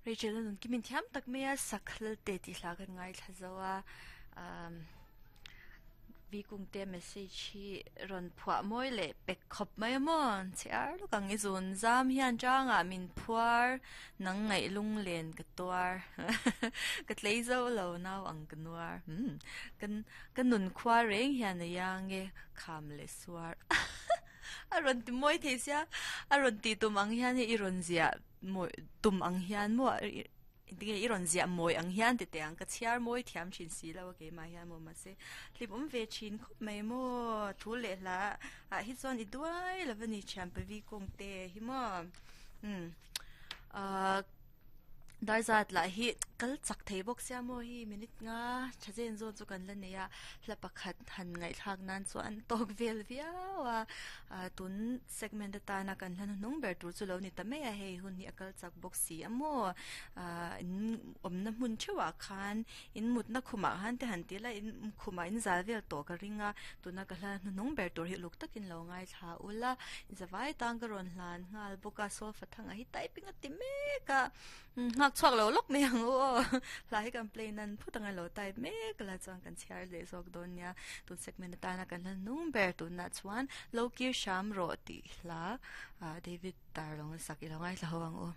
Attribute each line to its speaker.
Speaker 1: Rachel a nun kimin thiam tak mai a sak hlalte tih hla kan ngaithla zo a umm vi kungte message hi rawn phuah mawi leh pek khawp mai a maw chhiar lawk ang i zun zam hian tangah min phuar nang ngaih lung len ka tuar ka tlei zo lo nau ang ka nuar umm kan ka nun khua reng hian a iang e kham leh suar a rawn ti mawi thei sia a rawn tih tum ang hian hei i rawn ziah mawi tum ang hian maw tinge i rawn ziah mawi ang hian ti teh ang ka chhiar mawi thiam thin si lo a keimah hian maw mahse hlim awm ve thin khawp mai maw thu leh hla ah hi chuan i duai lo a ni thian pavi kawng te hi maw umm ahh. Dar zat lah hi kal chak thei bawk sia maw hi minute nga tha zen zawn chu kan la nei a hla pakhat han ngaihthlak nan chuan tawk vel viau a ah tun segment atana kan hla hnuhnung ber tur chu lo ni ta mai a hei hun hi a kal chak bawk si a maw ah in awmna hmun theuhah khan in mutna khumah khan te han ti ila in khumah in zal vel tawh ka ring a tuna ka hla hnuhnung ber tur hi uluk takin lo ngaithla ula zavai tan ka rawn hlan nghal bawk a sofa thangah hi typing a ti mek a nghak chhuak lo lawk mai ang u aw hla hi kan play nan phut anga lo type mek la chuan kan chhiar leh zawk dawn nia tun segment atana kan hla hnung ber tunah chuan lo kir hram rawh tih hla ah David Darlawng a sak i lo ngaithla ho ang u.